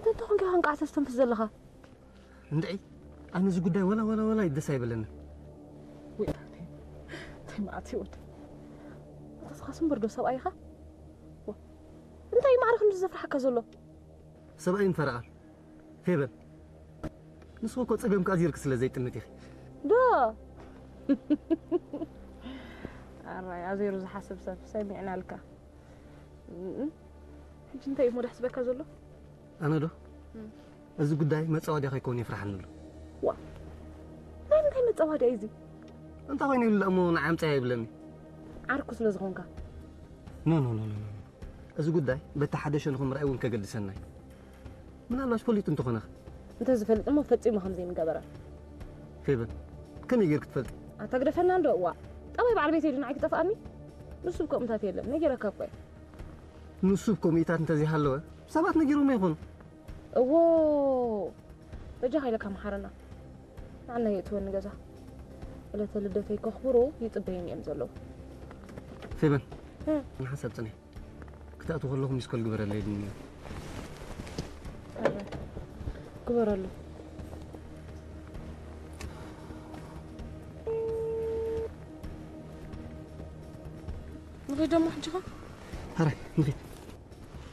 እንተኾንካ ኸንቃዕ ተስተንፍስ ዘለኻ? እንድዒ ኣነ እዚ ጉዳይ ወላ ወላ ወላ ደስ ኣይበለኒ። ወይ እንታይ መዓት ይወድ ኣተስኻስም በርዶ ሰብኣይኻ እንታይ ማዕረ ክንዲ ዘፍርሓካ ዘሎ? ሰብኣይ እንፈረቓ ፌበን፣ ንስኹ እኮ ጸገምካ ኣዚርክ ስለ ዘይጥምት ኢኺ። ዶ ኣራይ ኣዜሩ ዝሓስብ ሰብ ሰሚዕናልካ። ሕጂ እንታይ እዩ ሞዳሕ ዝበካ ዘሎ? ኣነ ዶ እዚ ጉዳይ መጻወድያ ከይከውን ይፍርሓኒ ኣሎ። ዋ ናይ ምንታይ መጻወድያ እዩ እዚ? እንታይ ኮይኑ ኢሉ እሞ ንዓምጻ ይብለኒ። ዓርኩ ስለ ዝኾንካ። ኖ ኖ ኖ ኖ እዚ ጉዳይ በቲ ሓደ ሸንኹ ምርኣይ እውን ከገድሰና እዩ። ምናልባሽ ፈሊጡ እንተኾነ እንተዝፈልጥ እሞ ፈጺሙ ከም ዘይምገበረ። ፌበን ከመይ ጌርክ ትፈልጢ? ኣታ ግደፈና እንዶ እዋ ጠባይ በዓል ቤት ኢሉ ንዓይ ክጠፍኣኒ። ንሱ ብከምታት የለን ነጊረካ እኮ እየ። ንሱ ብከምኢታት እንተዘይሃለወ ሰባት ነጊሮም ይኾኑ። እዎ በጃኻ ኢለካ መሓረና። ንዓና የእትወኒ ገዛ ዕለተ ልደተይ ከኽብሩ ይጽበዩኒ እዮም ዘለዉ። ፌበን ንሓሳብ ጽንሕ ክትኣትው ከለኹ ሚስኮል ግበረለይ ድንያ። ግበረሉ። ንኸይድ ደሞ ሕጂ ኸ? ሕራይ ንኸይድ።